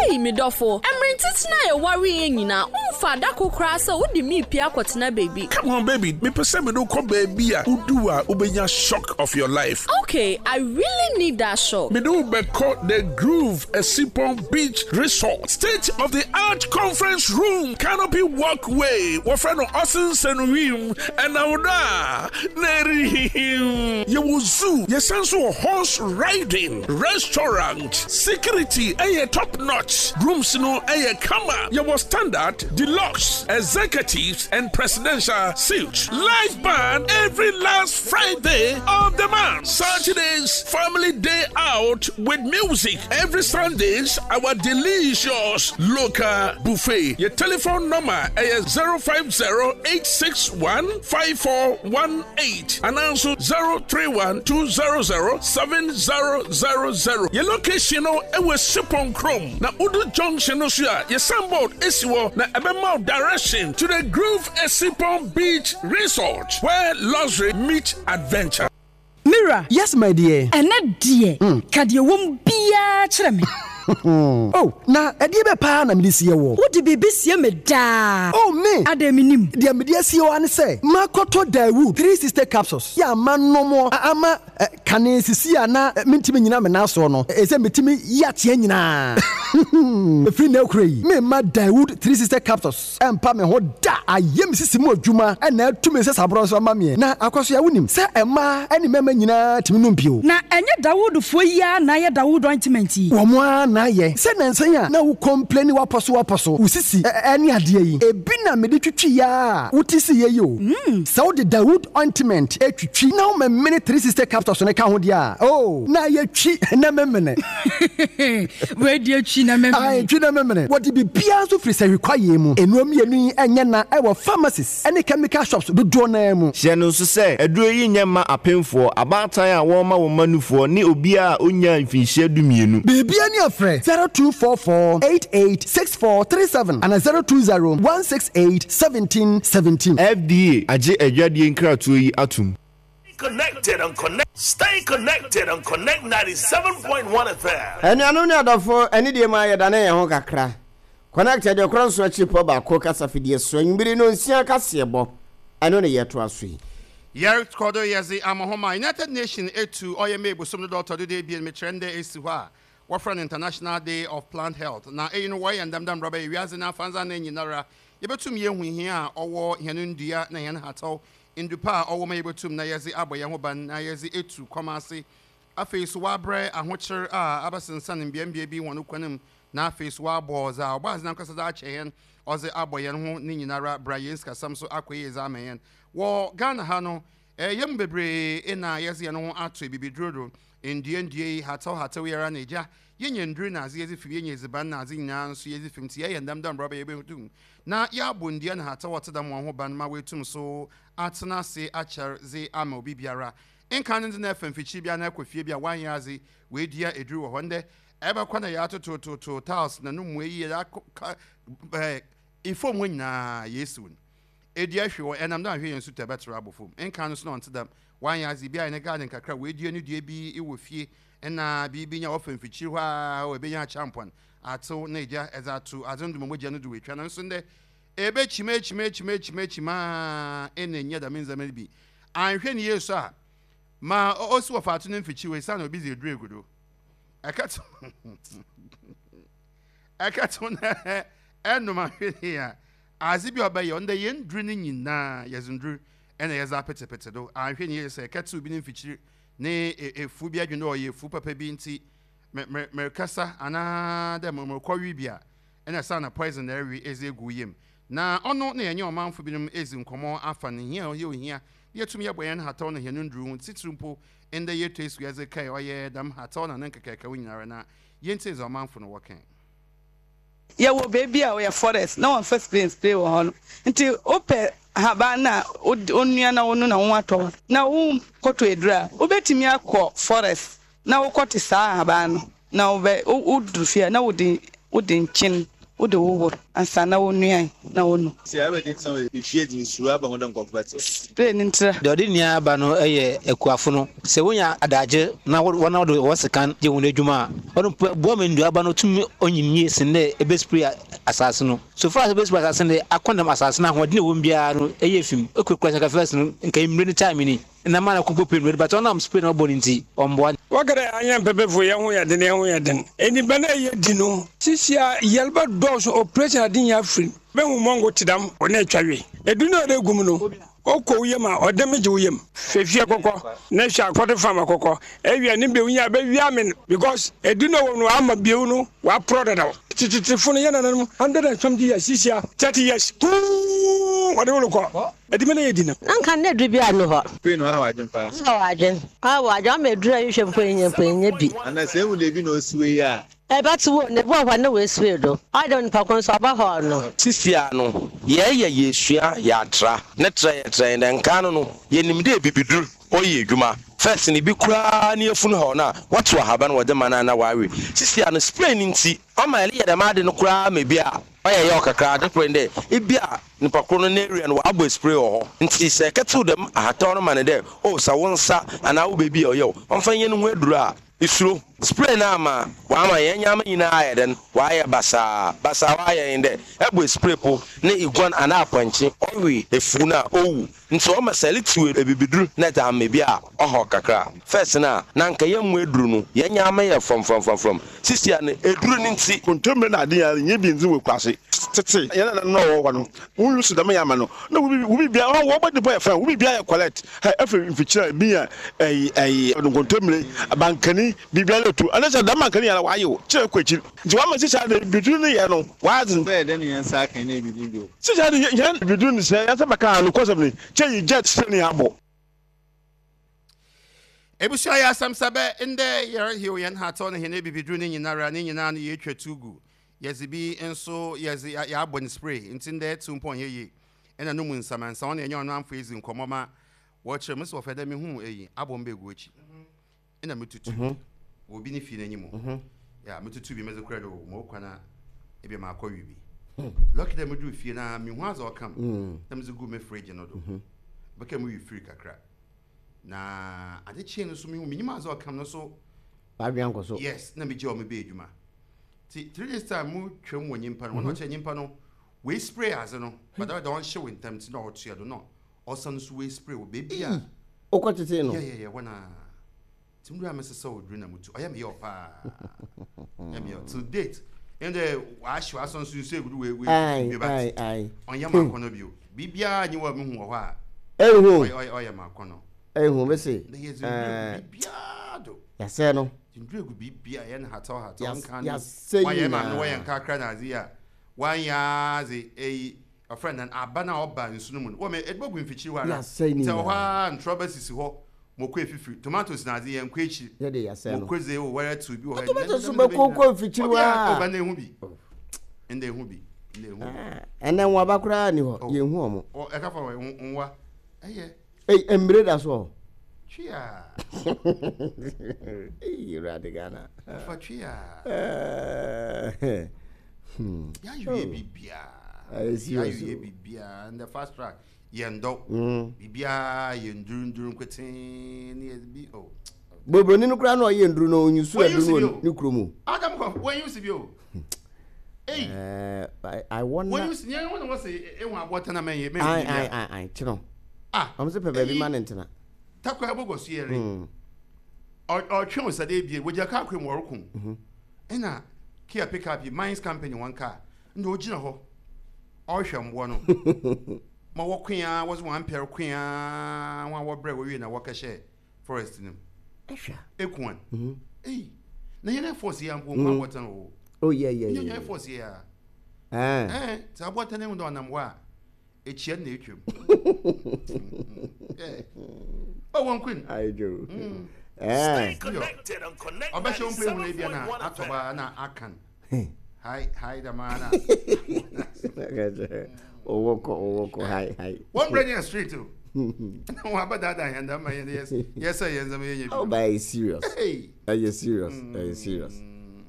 Ei, me dɔfo, mmere ntenten a yɛwaree yɛn nyinaa, womfaa da koro koraa sɛ wode me repue akɔtena baabi. Come on baby, mepɛ sɛ mede wo kɔ baabi a wodu a wobɛnya shock of your life. Okay, I really need that shock. Mede wo bɛkɔ The Groove Asipɔn Beach Resort, state of the art conference room, canopy walkway, wɔfrɛ no ɔsensɛn wim, ɛnam dɔ a na ɛrehihim. Yɛwɔ zoo, yɛsan nso wɔ horse riding, restaurant, security ɛyɛ top notch, rooms no ɛyɛ kama, yɛwɔ standard, deluxe, executives and presidential suites, live band every last Friday of the month, Saturdays family day out with music, every Sundays our delicious local buffet. Your telephone number is 050 861 5418 and also 031 200 7000. Your location no ɛwɔ Sipon Krom na Udu Junction no so a your signboard esi hɔ na ɛbɛma direction to the Groove Esipon Beach Resort where luxury meet adventure. Me wura. Yes my dear. Ɛnɛ deɛ, ka deɛ ɛwɔ mu biara kyerɛ me. Oh, na ɛdeɛ bɛ paa na mede sie woɔ? Wode biribi sie me daa. Oh, me! Adɛn mennim? Deɛ mede asie wo ara ne sɛ, makɔtɔ Daewoo 360 capsules yɛ a manom ama kane sisi a na mentumi nnyina me nan soɔ no, ɛsɛ metumi yi ateɛ nyinaa. Ɛfiri nnɛ rekora yi, meremma Daewoo 360 capsules ɛmpa me ho da. Ayɛ me sisi mu adwuma na atu me nsasaborɔ nso ama meɛ. Na Akwasoa, wonim sɛ mmaa ne mmarima nyinaa tumi nom bio. Na ɛnyɛ Dawoodfoɔ yi ara na ayɛ Dawood ointment yi? Wɔn ara na ayɛ. Sɛ nnansa yi a na wo complaini w'apɔ so w'apɔ so, wo sisi ne adeɛ yi, ebi na mede twitwiiɛ ara a wote siiɛ yi o. Sɛ wode Dawood ointment twitwi na womemene 360 capsules no ka ho deɛ a, oh, na ayɛ twi na memene. Wei deɛ twi na memene. Ae, twi na memene. Wɔde biribiara nso firi sahwi kwaeɛ mu. Nnuro mmienu yi nyɛ na ɛwɔ pharmacies ne chemical shops dodoɔ no ara mu. Hyɛ no nso sɛ, aduro yi nyɛ mma apemfoɔ, abaatan a wɔrema wɔn mma nufoɔ ne obiara a ɔnnyaa mfinhyia dumienu. Biribiara ni a frɛ 0244 88 64 37 anaa 020 168 17 17. FDA agye adwadie nkratoɔ yi atom. Connected on Connect. Stay connected on Connect 97.1 FM. Anuanom ne adɔfo, anidie mu ara yɛdane yɛn ho kakra. Connect aduokron nson akyiripɔ baako kasafidie so anwummere nnɔnsia kaseɛbɔ, ɛno ne yɛtoa so yi. Yɛrokɔ do yɛdze amahoma United Nation etu ɔyɛ May bosoom no da ɔtɔ do duebien mekyerɛ ndɛ esi hɔ a wɔfrɛ no International Day of Plant Health na iyi no wɔyɛ ndɛm dɛ mbrɛ ɔbɛyɛ wiadze n'afandzana nyinara yebotum yehu hia a ɔwɔ hɛn ndua na hɛn hataw Ndu pa a ɔwɔ mu a yebotum na yɛdze abɔ hɛnho ban na yɛdze etu kɔm ase. Afei so wɔabrɛ ahokyer a abɛsensan mbeambea bi hɔn kwan mu na afei so wɔabɔ dza Ɔbɔadze nankasa dze akyɛ hɛn ɔdze abɔ hɛnho ne nyinara bra hɛn sikasɛm so akɔ yie dze ama hɛn. Wɔ Ghana ha no, hɛn mu beberee na yɛdze hɛnho ato ebibiduro do, ndua ndua yi, hatsew hatsew yi ara na egya, yenya ndur na adze yɛdze fi mu, yenya edziban na adze nyina so yɛdze fi mu ntsi yɛyɛ ndɛm dɛ mbrɛ ɔbɛyɛ yebotum na yɛabɔ ndua na hataw a ɔtse dɛm hɔn ho ban ma woetum so atsena ase akyɛr dze ama obi biara. Nkan no ndze na efa mfikyir bi anaa ekɔ fie bi a wɔannyɛ adze woedua edur wɔ hɔ. Ndɛ ebɛkɔ na yɛatotototo tiles na no mua yi yɛakɔ famu hɔ nyina yeesiw no. Edua hwe hɔ, ɛnam dɛ annhwɛ yɛn nsu tɔ ɛbɛtserew abɔ famu. Nkan no so na ɔnntse dɛm, wɔannyɛ adze bi ayɛ ne garden kakra, woedua no dua bi wɔ fie nna biribi nya wɔfa mfikyir hɔ a ebenya akyɛmpɔn atsew na egya dze ato adze no do ma mogya no do oetwa. Naaso ndɛ, ebekyim ekyim ekyim ekyim ekyim ara nna ennya dɛm ndzɛmba no bi. Annhwɛ no yie so a, ma osi wɔ faato no mfikyir hɔ esian obi dze edur egu do. Ɛkɛtsew ɛkɛtsew na ɛnom ahwɛ ne a, adze bi a ɔbɛyɛ ndɛ hɛn ndur no nyina yɛdze ndur na yɛdze apetsepetse do. Annhwɛ no yie sɛ ɛkɛtsew bi ne mfikyir ne efuw bi adwen dɛ ɔyɛ efuw papa bi ntsi me me merekasa anaa dɛ mo morokɔwe bi a, nna saana poison na erewe edze egu wo yamu. Na ɔno na yɛnye ɔmamfo binom edzi nkɔmbɔ afa no hia a ɔyɛ ohia dɛ yetum yɛbɔ hɛn hataw na hɛn ndur ho, tsitsir mpo ndɛ yeetu esu yɛdze kae ɔyɛ dɛm hataw na ne nkekaakaw nyinara na yentsie dza ɔmamfo no wɔkã. Yɛwɔ beebi a ɔyɛ forest na wɔmmfa spray nnspray wɔ hɔ no ntsi wopɛ haban no a wonua na wono na woho atɔ wo a na wonnkɔtɔ edur a, wobɛtumi akɔ forest na wokɔte saa ahaban no na wobɛ wodur fie a na wode wode nkyen. Wode wohor ansa na wonuae na wonu. Sɛ abɛde tena hɔ efie dze nsuro aba ho dɛ nkorɔfo bɛtse. Spray no ntra. Deɛ ɔde nua ba no yɛ akuafo no. Sɛ wonya adagyer na wɔn a wɔde wɔn sekan yɛ wɔn adwuma a, ɔno mpo ɛboa ma nnuaba no tumi onyin yie sen dɛ ebespray asaase no. So far as ebespray asaase no de, akɔndɛm asaase no ahoɔden a ɛwɔ mu biara no ɛyɛ fi mu. Ekurakura sɛ nka first no nka mmire no time ni na ma na kɔbɔ pray mmire no but ɔnam spray na ɔbɔ no nti ɔmboa. Wɔka dɛ annyɛ mpɛpɛfo hɛn ho yɛ dzen, hɛn ho yɛ dzen. Edziban a yedzi no, sisia yarba dɔɔ so, operation adze nyina fir mu. Mehu mongo tse dɛm, na etwa we. Edur no a ɔdze egu mu no, ɔkɔ wo yamu a, ɔdɛm gye wo yamu. Hwɛ fie kɔkɔ na hwɛ akɔdo farm akɔkɔ. Ewia ne bew nyia bɛwia amen because edur no a ɔwɔ mu no ɔama bew no ɔaporɔw dadaw. Tsetetsefo no, hɛn nananom, hundred and something years, sisia 30 years, puu wɔdze wo rokɔ. Edwuma no yɛ di no. Na nka na aduru biara nni hɔ. Afei na ɔhaw adwene paa. Ɔhaw adwene. Ɔhaw adwene ama aduru a yɛhwɛ mpo yɛnya mpo yɛnya bi. Ana sɛ ehu dɛ bi na osiwe yi a. Ɛbɛte wo na ebi wɔ hɔ a na woesue do. Ɔyɛ dɛ onipa ko no so ɔba hɔ no. Sisia no, yɛɛyɛ yesua yɛatra ne trɛ yɛtrɛ hɛn dɛ nkaa no no, yenim dɛ ebibidur ɔyɛ edwuma. First no bi koraa ne yafun haw no a, wɔtsew ahaban wɔdze ma no a na ɔawe. Sisia no, spray no ntsi, ɔma ereyɛ dɛm ade no koraa ma bi a ɔyɛ yaw kakra. Adze kor nye dɛ, bi a nyimpa kor no n'area no wɔabɔ spray wɔ hɔ ntsi sɛ ekɛtsew dɛm ahataw no ma no dɛ oh sa wo nsa anaa wo beebi a ɔyɛ wo, ɔmfa nyɛ no ho edur a, isuro. Spray no ama ɔama hɛn ndzɛmba nyina ayɛ dɛn, ɔayɛ basaa. Basaa a ɔayɛ nye dɛ, ebɔ spray po na iguan anaa apɔnkye ɔwe efuw no a, owu. Ntsi ɔma sɛ eretsew ebibidur na edze ama bi a, ɔhaw kakra. First no a, na anka yɛmmbɔ edur no, hɛn ndzɛmba yɛ frɔmfrɔmfrɔmfrɔm. Sisia no, edur no ntsi. Kontommire na ade nyinaa nyɛ bi ndze wɔ ekuase. Tsetse hɛn nananom a wɔwɔ hɔ no, wo use dɛm yɛ ama no na wo wo biribiara hɔn wɔbɔ de bɔ yɛ fine, wo biribiara yɛ collect. Hɛ efi mfikyir a bi nya ɛyi ɛyi nkontommire, bankani, biribiara etu. Ɛno sɛ dɛm bankani nyinaa wɔayew kyerɛ kɔ ekyir. Ntsi wɔama sisia de biribi no yɛ no wɔadze. Bɛyɛ dɛn na hɛn nsa aka hɛn ebibir bio? Sisia de hɛn biribi no sɛ hɛn nsa bɛka a nokwasɛm ni, kyɛ yi jet sɛ ni abɔ. Ebusua yɛ asɛm sɛ bɛ ndɛ yɛrehew hɛn hataw na hɛn ebibiduro ne nyinara ne nyinaa no yeetwa tu gu. Yɛdze bi nso yɛdze yɛabɔ no spray ntsi ndɛ tsew mpo ɔnnyɛ yie. Nna no mu nsamansaw na yɛnye ɔno amfo edzi nkɔmbɔ ma wɔkyerɛ mu se wɔfɛ dɛ mehuu eyi abɔ me begu ekyi. Nna metutu wɔ obi ne fie n'enyim o. Yeah, metutu bi medze kɔrɛ do o, mowɔ kwan a ebia makɔ we bi. Lucky dɛ mudur fie no ara mehu adze a ɔka mu na medze guu me fridge no do. Bɛka mu we fir kakra. Na ade kyee no so mehu menyim adze a ɔka no so. W'adwen ankɔ so. Yes, na megye ɔmo bɛyɛ adwuma. Ti 3 days time mu twam wɔ nyimpa no, wɔn na ɔkyerɛ nyimpa no wei spray adze no, but ɔyɛ dɛ ɔnhyew ntɛm nti na ɔtoa do na ɔsan so wei spray wɔ beebi a. Wokɔ tetee no? Yeah, yeah, yeah, hɔ na. Nti mu a mesesa oduru na mutu ɔyɛ me yaw paa ɔyɛ me yaw till date ɛn dɛ wahyew asɔ nso nsu egudu wei wei bi but ɔnyɛ ma akɔnɔ bio biribiara nye wɔ mehu wɔ hɔ a ehu ɔyɛ ɔyɛ ma akɔnɔ ehu mese na yɛ dze nduru gu biribiara do yasɛ no nduru egu biribiara yɛn hataw hataw nka no yasɛ wɔnyɛ maame no wɔyɛ nkakra na adze yi a wɔanyɛ adze eyi ɔfrɛ no aba no a ɔba nsu no mu no wɔ me ɛde bɛgu mfikyiri hɔ ara Yasɛe ne nti ɛwɔ hɔ nyinaa. ara ntorɔba sisi hɔ moko efifiri tomatoes na adze yɛn kɔ akyiri Yɛde yasɛe no. moko dze o wɔrɛ tew bi wɔ hɔ Tomatoes so bɛkɔ kɔ mfikyiri hɔ obiara a. ɔba na ehu bi ɛnna ehu bi ɛnna ehu bi Ɛnɛ nwaba koraa ni hɔ yɛnhu ɔmo. ɔ ɛka fa wɔ nwa ɛyɛ Ei, mmire da so wɔ hɔ. twia Ei, Awurade Ghana. ɔfa twia Eh, yɛayɛ biribiara Ayɛ serious yɛayɛ o. biribiara and the fast track yɛn dɔ biribiara yɛ ndurunduru nkwetee ne yɛ bi o. Bobroni no koraa na ɔyɛ nduru no onyusu Wɔn aduru use no bi wɔ o. ne kurom o. Adam kɔ wɔn use bi o. Ei Eh, I wonder. wɔn use nyɛ wɔn na wɔsɛ ehu aboɔ tɛn na mɛnyɛ mɛnyɛ Ai bi ai a. ai ai kyerɛ. Ah Ɔmo sɛ pɛ baabi eyi ma ne ntena. takwa ɛbɔ so yɛre ɔtwe osade ebie wɔgyina kaa kwan mu ɔreko ɛna kia pick up yi mines company wɔn kaa ɛna ogyina hɔ ɔrehwɛ mboa no ma wɔko a wɔdze wɔn ampɛr ko a wɔn a wɔbrɛ wɔwie na wɔkɛhyɛ forest no mu Ɛhwɛ. ekuan ei na yɛn air force yɛ mpo nkwa abɔtɛn o Oh yeah yeah yɛn yeah. air force yɛ a Eh. ɛɛ sɛ abɔtɛn ehu dɛ ɔnam hɔ a ekyia na etwam oh wɔn queen Ayi jo. Eh. Stay connected on Connect ɔbɛhyɛ wɔn mpo ehu na ebia na 97.1 atɔ FM. baa na akan Hi, hi, the man. Owó kɔ, owó kɔ, hi, hi. Wɔn brɛ nyɛ street o. Wɔn aba daadaa yɛn dama yɛn yɛ yɛ sɛ yɛn nsɛm yɛ nyɛ bi. Oh, but it's serious. Hey. Ɛyɛ serious, ɛyɛ serious.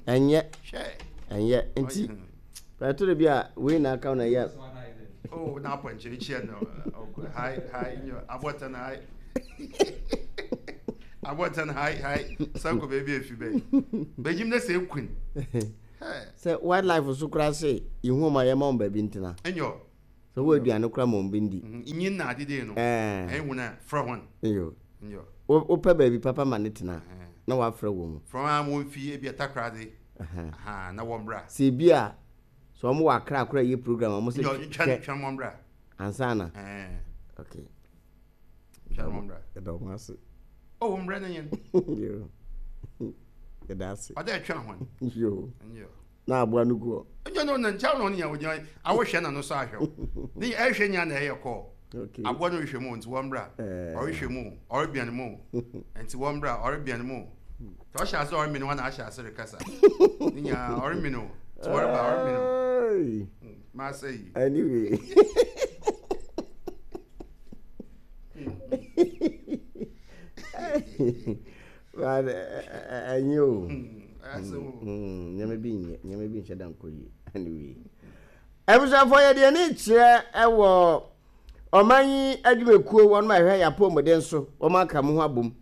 Ɛnyɛ, Hwɛ. ɛnyɛ. Nti, Ɛtɔ da bi a wei na aka na yɛ. Oh, na apɔnkye kyia no. Hi, hi, nyo. Abɔtan hi. Abɔtan hi, hi. Sanko baabi efi bɛyi. Bɛgyim na sɛ ekun. Sɛ wildlife so koraa se ihu ɔmo a yɛma ɔmo baabi ntena. Nyo. Sɛ wɔ aduane koraa ma ɔmo bi ndi. Nyin na adede no. Ɛɛ. Ɛhu na frɛ hɔn. Nyo. Nyo. Wopɛ baabi papa ma ne tena na wafrɛ wɔn. Frɛ wɔn a wɔn fi ebi atakoradi. Na wɔn bra. Sɛ ebi a sɛ wɔn wɔ akra akora yɛ program wɔn sɛ twɛ twɛ wɔn bra. Ansa na. Okay. Twɛ wɔn bra. Ɛda wɔn ase. Oh, wɔn bra ne yɛn. Yo. Ɛda ase. Ɔdɛ twɛ wɔn. Yo. Na aboa no gu hɔ. Nyɛ no na nkyɛn na ɔne yɛn ogyina awohwɛ na no so ahwɛ wo. Ne ɛhwɛ nya na ɛyɛ kɔɔ. Aboa no rehwɛ mu nti wɔn bra. Ɔrehwɛ mu, ɔrebɛn mu nti wɔn bra, ɔrebɛn mu. Nti ɔhyɛ ase ɔremene hɔ na ahyɛ ase rekasa. Ne nyinaa ɔremene o. Nti wɔreba ɔremene o. Maasa yi. Anyway. But ɛnyɛ o. Nneɛma bi nyɛ, nneɛma bi nhyɛ da nkɔ yie. Anyway. Abusuafoɔ yɛde yɛn ani kyerɛ wɔ ɔman yi adwumakuo wɔn a ɛhwɛ yɛn apɔmuden so wɔn aka mu ho abom.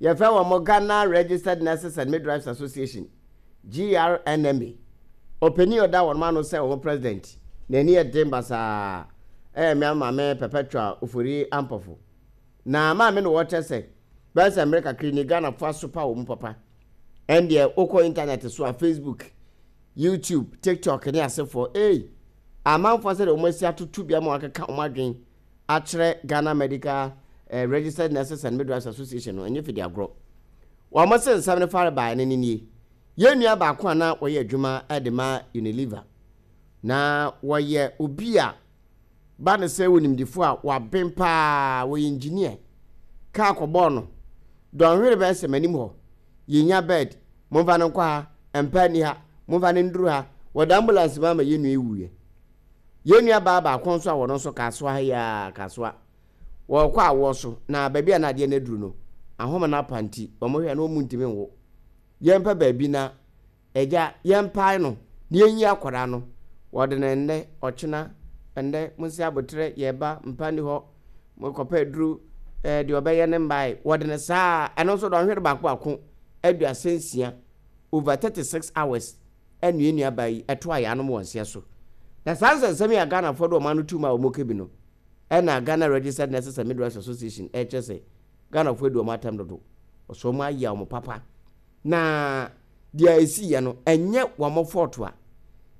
Yɛfrɛ wɔn Ghana Registered Nurses and Midwives Association, GRNMA. Ɔpanin a ɔda wɔn ano sɛ wɔn president, n'ani yɛ den basaa, ɛyɛ mmea maame Perpetua Ofori Ampofo. Na maame no wɔkyɛ sɛ bɛyɛ sɛ mmerɛ kakra ni Ghanafoɔ asopa wɔn papa. Ɛndeɛ wokɔ intanɛt so a Facebook, YouTube, TikTok ne asefoɔ ei, amanfoɔ sɛdeɛ wɔn asi atoto bi ama wɔakeka wɔn adwen akyerɛ Ghana Medical eh, Registered Nurses and Midwives Association no, ɛnyɛ fidi agorɔ. Wɔn se nsɛm no fare baeɛ no ne nie. Yɛn nua baako a na wɔyɛ adwuma de ma Unilever na wɔyɛ obi a ba no sɛ onimdefo a waben paa, ɔyɛ engineer. Kaa kɔbɔɔ no. Dɔnhwere bɛyɛ sɛ m'anim hɔ. Yɛnnya bed, momfa no nkɔ ha, mpa nni ha, momfa no nduru ha. Wɔde ambulance mu ama yɛn nua yi wuiɛ. Yɛn nua baa baako nso a wɔno nso Kasoa ha yi ara, Kasoa. Wɔrekɔ awoɔ so, na baabi a na adeɛ no aduru no, ahoma no apa nti, wɔhwɛ na wɔntumi nwo. Yɛmpɛ baabi na Agya, yɛmpae no na yɛnyi akwadaa no. Wɔde no nnɛ, ɔkyena, ɛnnɛ, monsi aboterɛ, yɛreba, mpa nni hɔ, mokɔpɛ aduru, ɛɛ, deɛ ɔbɛyɛ no mmae. Wɔde no saa, ɛno nso dɔnhwere baako baako, 36, over 36 hours, ɛna yɛn nuabaa yi ɛto ayaanom wɔ nseɛ so. Na saa nsɛnsɛm yi a Ghanafoɔ de wɔn ano to mu a wɔka bi no, ɛna Ghana Registered Nurses and Midwives Association ɛrekyerɛ sɛ Ghanafoɔ adi wɔn atɛm dodo, wɔsɛ wɔn ayɛ wɔn papa. Na deɛ ɛsiiɛ no, ɛnyɛ wɔn fault a,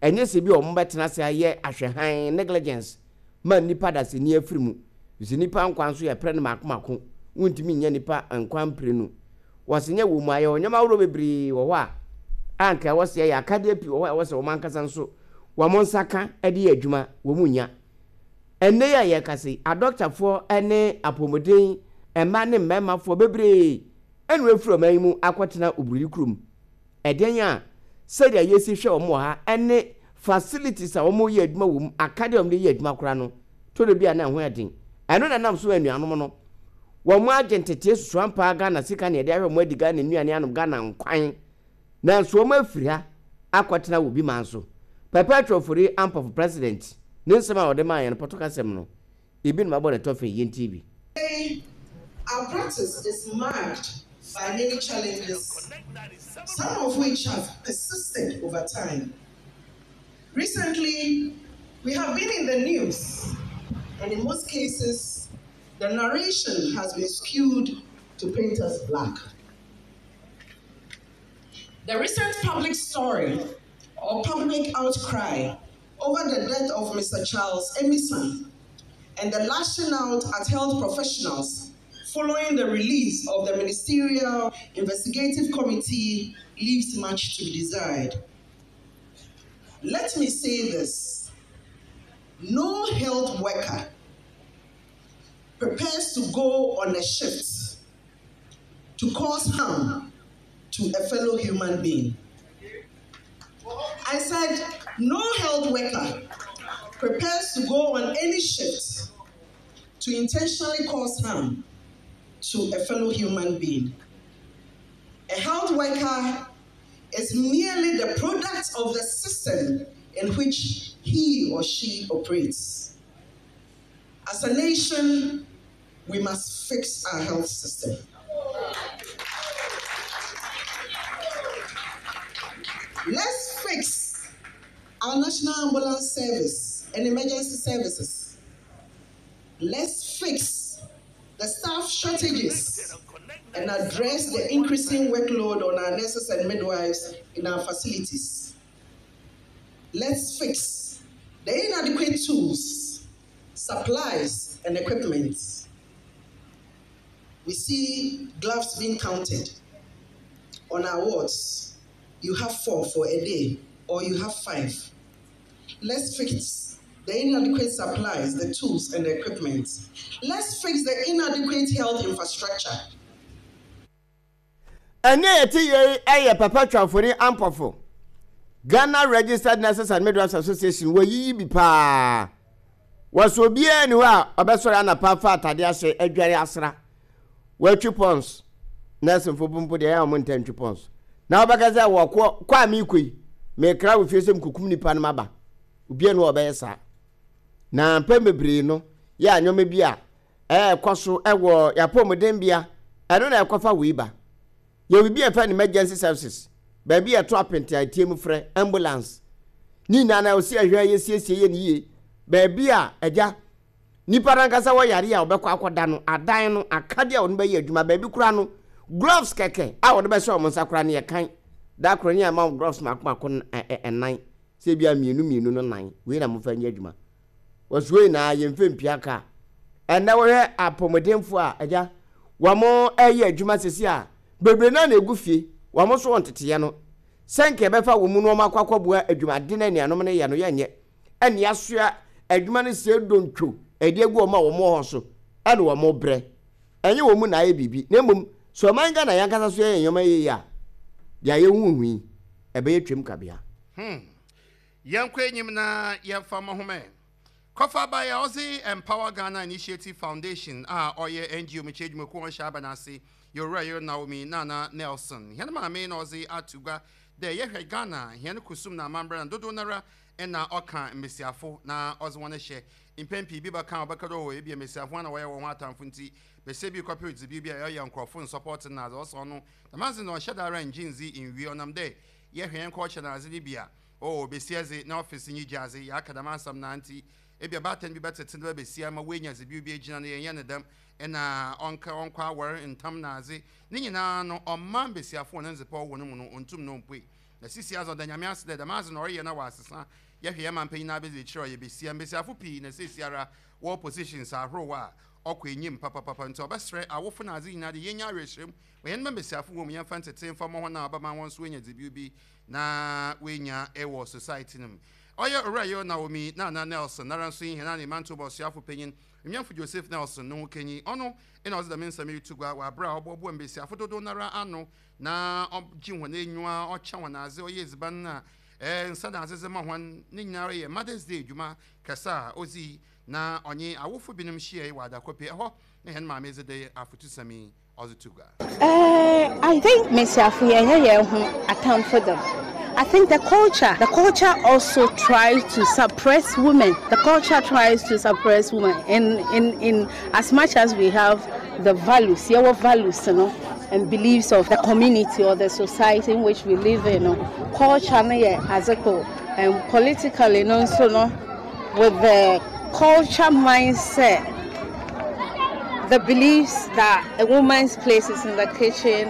ɛnyɛ sɛ bi a wɔbɛtena ase ayɛ ahwɛhan, negligence, ma nnipa dasani afiri mu. Efisɛ nnipa nkwa nso yɛpere no mako mako, wontumi nnya nnipa nkwa mprenu. Wɔse nyɛ wɔ mu a, yɛwɔ nneɛma ahoroɔ bebree wɔ hɔ a, a anka ɛwɔ sɛ yɛyɛ, akadeɛ pii wɔ hɔ a ɛwɔ sɛ wɔn ankasa nso wɔn nsa ka de yɛ adwuma, wɔn nnya. Ɛnnɛ yi a yɛrekasa yi, adɔktafoɔ ne apɔmuden mmaa ne mmarimafoɔ bebree ɛna wɔafiri ɔman yi mu akɔtena oburoni kurom. Ɛdeɛn a sɛdeɛ yɛsi hwɛ wɔn wɔ ha ne facilities a wɔyɛ adwuma wɔ mu, akadeɛ a wɔde yɛ adwuma koraa no, tɔ da bi a na ɛho yɛ den. Ɛno na ɛnam so anuanom no, wɔn agye ntetee susu ampa ara Ghana sika na yɛde ahwɛ wɔn adi Ghana nnuane anom Ghana nkwan. Nanso wɔn afiri ha akɔtena wɔ bi man so. Perpetual Ofori Ampofo President ne nsɛm a ɔde maa yɛn no pɔtɔkasɛm no, Ebi na mabɔ ne tɔfe yɛntie bi. Today, our practice is marked by many challenges, some of which have persisted over time. Recently, we have been in the news, and in most cases, the narration has been skewed to paint us black. The recent public story or public outcry over the death of Mr. Charles Emison and the lashing out at health professionals following the release of the Ministerial Investigative Committee leaves much to be desired. Let me say this no health worker prepares to go on a shift to cause harm to a fellow human being. I said, no health worker prepares to go on any shift to intentionally cause harm to a fellow human being. A health worker is merely the product of the system in which he or she operates. As a nation, we must fix our health system. Let's fix our national ambulance service and emergency services. Let's fix the staff shortages and address the increasing workload on our nurses and midwives in our facilities. Let's fix the inadequate tools, supplies, and equipment. We see gloves being counted on our wards. You have four for a day, or you have five. Let's fix the inadequate supplies, the tools, and the equipment. Let's fix the inadequate health infrastructure. Ɛnne a yɛte yei yɛ Papa Twamfori Ampofo, Ghana Registered Nurses and Midwives Association, wɔayiyi bi paa. Wɔsɛ obiara nni hɔ a ɔbɛsɔre anapa afa atade ahyɛ adware asra. Wɔatwi pɔns. Nɛɛsenfo mpo deɛ ɛyɛ a wɔn ntaa ntwi pɔns. Na wɔbɛka sɛ wɔkɔ kɔ a merekɔ yi, mekra wɔ fie sɛ mekɔkum nipa no maba. Obiara nni hɔ a ɔbɛyɛ saa. Na mpɛn bebree no, yɛ a nneɛma bi a ɛrekɔ so wɔ yɛn apɔmudenbea, ɛno na ɛkɔfa wei ba. Yɛwɔ biribi a yɛfrɛ no emergency services, baabi a yɛto apente a ɛteɛ mu frɛ ambulance. Ne nyinaa na ɔsi ɛhwɛ yɛsiesie yɛ ne yie. Baabi a agya nipa no ankasa wɔ yare a ɔbɛkɔ akɔda no, adan no, akadeɛ a wɔde bɛyɛ adwuma, baabi koraa no, gloves kɛkɛ a wɔde bɛhyɛ wɔn nsa koraa no yɛ kan. Da koro ne yɛama wɔn gloves mako mako ɛnan, sɛ ebi a mmienu mmienu no nan, wei na momfa nyɛ adwuma. Wɔsoɛ nyinaa yɛmfa mpia ka. Ɛnnɛ wohwɛ apɔmuden-foɔ a, agya, wɔn ɛyɛ adwuma sɛsi a, bebree no ara na ɛgu fie, wɔn nso wɔn teteɛ no, sɛ nka yɛbɛfa wɔn mu na wɔn akɔ akɔboa adwumaden a anuanom no yɛ no, yɛnyɛ. Ɛne yɛasoa adwuma no sɛ dontwo ɛde agu wɔn a wɔn wɔ hɔ so, ɛne wɔn brɛ. Ɛnyɛ wɔn mu na ayɛ biribi, na mmom sɛ ɔman Ghana yɛn ankasa so yɛyɛ nneɛma yie a, deɛ yɛhuhu yi, ɛbɛyɛ twam kabea. Hmm. Yɛnkɔ enyim na yɛmfa mbɔ hom ɛ. Kɔfa bae a ɔdze Empower Ghana Initiative Foundation a ɔyɛ NGO mekyɛ edwumakuw a ɔnnhyɛ aban ase yɛ Owura Yer Naomi Nana Nelson. Hɛn maame na ɔdze ato gua dɛ yɛhwɛ Ghana hɛn kusum na amambra no dodow noara nna ɔka mbasiafo na ɔdze hɔn hyɛ. Mpɛn pii bi bɛka a ɔbɛka dɛ oh ebia mbasiafo hɔn na wɔyɛ hɔnho atamfo ntsi basia bi rekɔper dzibew bi a ɔyɛ nkorɔfo nnsɔpɔɔtse no na adze ɔsɛ ɔno dɛm adze no ɔnnhyɛ da ara nngye nndzi nnwie ɔnam dɛ yɛhwɛ hɛn culture na adze no bi a Oh, besia dze, na ɔfese nye gya dze, yɛaka dɛm asɛm no ara ntsi, ebia baatan bi bɛtsetse ne ba basia ma oenya dzibew bi egyina no, yɛnnyɛ no dɛm, nna ɔnka ɔnkɔ awar ntam na adze, ne nyina no, ɔmma mbasiafo hɔn ndzepa ɔwɔ no mu no onntum na ommpue. Na sesei adze, ɔda Nyame ase dɛ dɛm adze no ɔreyɛ na ɔasesa, yɛhwɛ hɛn mampanyin abedziekyir a ɔyɛ basia, mbasiafo pii na seseiara wɔwɔ positions ahorow a ɔkɔ enyim papapapa, ntsi ɔbɛserɛ awofo na adze nyina dɛ yenya awerɛhyerɛmu ma hɛn mba mbasiafo wɔ mu, yɛmfa ntsetsee mfa mbɔ hɔn a ɔbɛma hɔn so woenya dzibew bi na oenya wɔ Society no mu. Ɔyɛ Owura Yeo Naomi Nana Nelson, noara so nye hɛn Anemanto Bɔsoafo Panyin, Onuamfo Joseph Nelson no ho kanyi. Ɔno na ɔdze dɛm nsɛm yi roto gua wɔ aber a ɔboaboa mbasiafo dodow noara ano na ɔgye hɔn enyiwa, ɔkyɛ hɔn adze, ɔyɛ edziban na nsa na adze dze ma hɔn. Ne nyinara yɛ Mother's Day dwuma kɛse a odzii na ɔnye awofo binom hyiae wɔ Adakɔpe. Hɔ na hɛn maame dze dɛ afotusɛm yi ɔdze to gua. Eh, I think Mesiafo yɛnyɛ yɛn ho atamfo dɛm. I think the culture, the culture also tries to suppress women. The culture tries to suppress women in in in as much as we have the values, yɛwɔ values no and beliefs of the community or the society in which we live in no. Culture no yɛ adze kor and politically no nso no with the culture mindset, the beliefs that a woman's place is in the kitchen,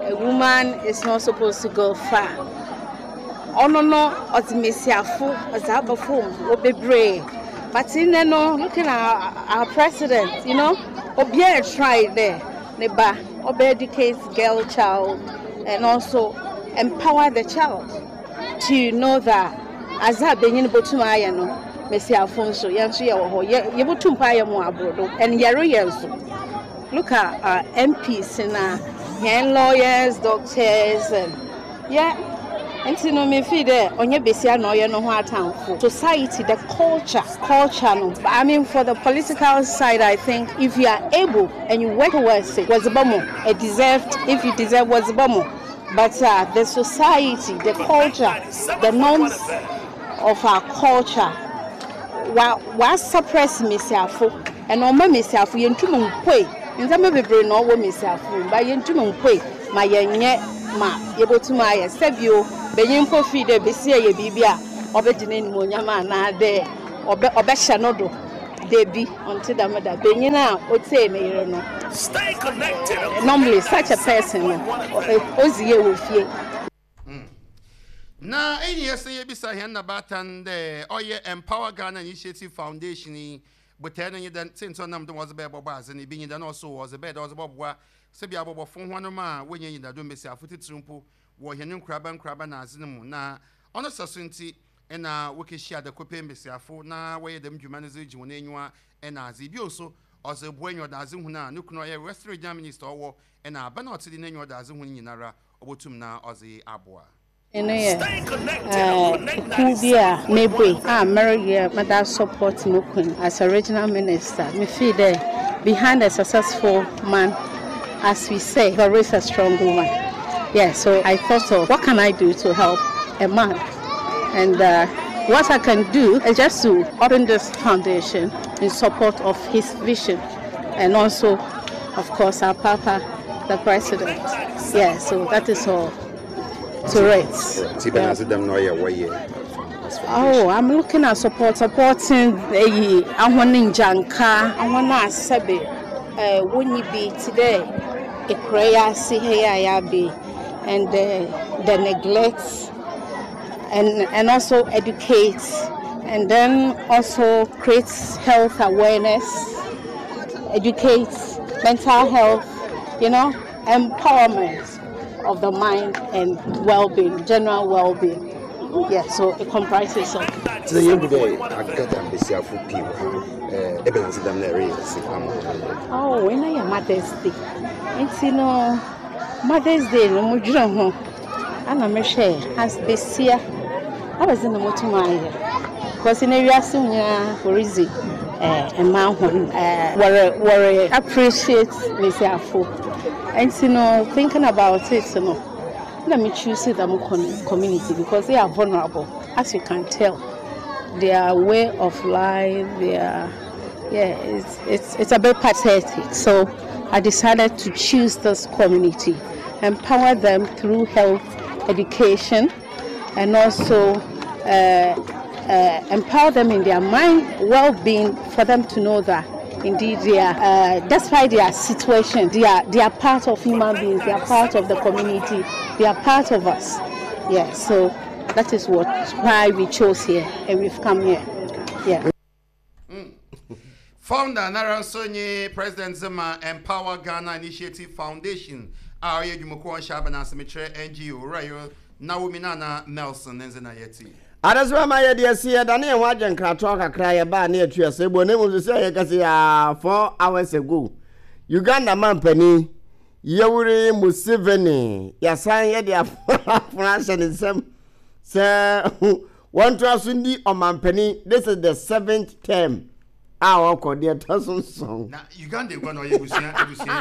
a woman is not supposed to go far. Ɔno no ɔdze mbesiafo ɔdze aba fam wɔ bebree. But ndɛ no looking at our, our president, you know, obiara try dɛ ne ba ɔbɛ educate girl child and also empower the child to know that adze a banyin botum ayɛ no mbasiafo nso yɛn nso yɛwɔ hɔ yɛ yɛbotum mpo ayɛ mo abor do and yɛreyɛ nso look at our MPs na hɛn lawyers doctors and yeah nti no me feel dɛ ɔnyɛ basia na ɔyɛ no ho atamfo society the culture culture no I mean for the political side I think if you are able and you work towards it wɔdze bɔ mo deserved if you deserve wɔdze bɔ mo but uh, the society the culture the norms. of our culture wa wa suppress mmesiafo ɛna ɔma mmesiafo yɛntum mpoe ndzɛmba bebree na ɔwɔ mmesiafo mu but yɛntum mpoe ma yɛnyɛ ma yɛbɛtum ayɛ sɛbio benyin mpo fii dɛ besia yɛ biribi a ɔbɛgye n'animuonyam anaa dɛ ɔbɛ ɔbɛhyɛ no do Dabi, ɔnntse dɛm da. Banyin a otsie ne yer no, Stay connected on normally such a person no, odzi yie wɔ fie. Na iyi yɛ sɛ yebisa hɛn nabaatan dɛ ɔyɛ Empower Ghana Initiative Foundation yi botae no nye dɛn, siantsir a ɔnam do ma ɔdze bɛyɛ bɔbɔ adze no, bi nye dɛn, na ɔso ɔdze bɛyɛ dɛ ɔdze bɔboa sɛbi abɔbɔfo hɔnnom a wonnya enyidado, mbasiafo tsitsir mpo wɔ hɛn nkuraba nkuraba na adze no mu, na ɔno sɛ so ntsi na wokehyia adakopɛ mbasiafo na wɔyɛ dɛm dwuma no dze gye hɔn enyiwa na adze. Bio so, ɔdze boa enyiɔdadze hun a no kun a ɔyɛ Western Regional Minister ɔwɔ na aban a ɔtse do n'enyiɔdadze hun nyinara obotum na ɔdze aboa. Eno yɛ kuw bi a mebue a mereyɛ meda support mo kun as a regional minister. Me feel dɛ behind a successful man as we say there is a strong woman. Yeah, so I thought of what can I do to help a man and what I can do is just to open this foundation in support of his vision and also of course our papa the president. Yeah, so that is all to it. Oh, I'm looking at support supporting eyi ahɔn ngyanka ahɔn a sɛbe eh, wonyi bi te dɛ ekura yi ase ha yi a yɛabe and the neglect and also educate and then also create health awareness, educate mental health, empowerment of the mind and well-being, general well-being. Yeah, so it comprises of. Tena yɛn hu dɛ agada mbesiafo pii wɔ ha. Ebɛnadze dɛm na ɛreyɛ dze ama hɔn? Oh, ɛna yɛ Mother's Day. Nti no, Mother's Day no mo dwene ho. Ana mehwɛ as besia. Abɛdze na motum ayɛ. Because na wiase nyinaa wɔredzi mmaa hɔn wɔre wɔre appreciate mbesiafo. Nti no, thinking about it no, na me choose dɛm community because they are vulnerable, as you can tell. Their way of life, their yeah, it's a bit pathetic. So I decided to choose this community, empower them through health education, and also empower them in their mind well-being, for them to know that indeed they are, despite their situation, they are part of human beings, they are part of the community, they are part of us. Yeah, so that is why we chose here and we've come here. Yeah. Founder nara nso nye President Zema Empower Ghana Initiative Foundation a ɔyɛ adwumakuo ɔnhyɛ abɛn ase mekyerɛ NGO Owura Naomi Nana Nelson ne nze na yɛte. Adesoma ma yɛde asi yɛdane yɛn ho agye nkratoɔ kakra yɛbaa ne yɛtu ɛsɛ buo na mmom sɛ yɛka sɛ yɛa 4 hours ago, Uganda mampanin Yoweri Museveni yɛasan yɛde afono ahyɛ ne nsam sɛ wɔntoa so ndi ɔmampanin. This is the seventh term a ɔkɔ deɛ ɛtɔ so 7. Na Uganda egua na ɔyɛ ebusua ebusua.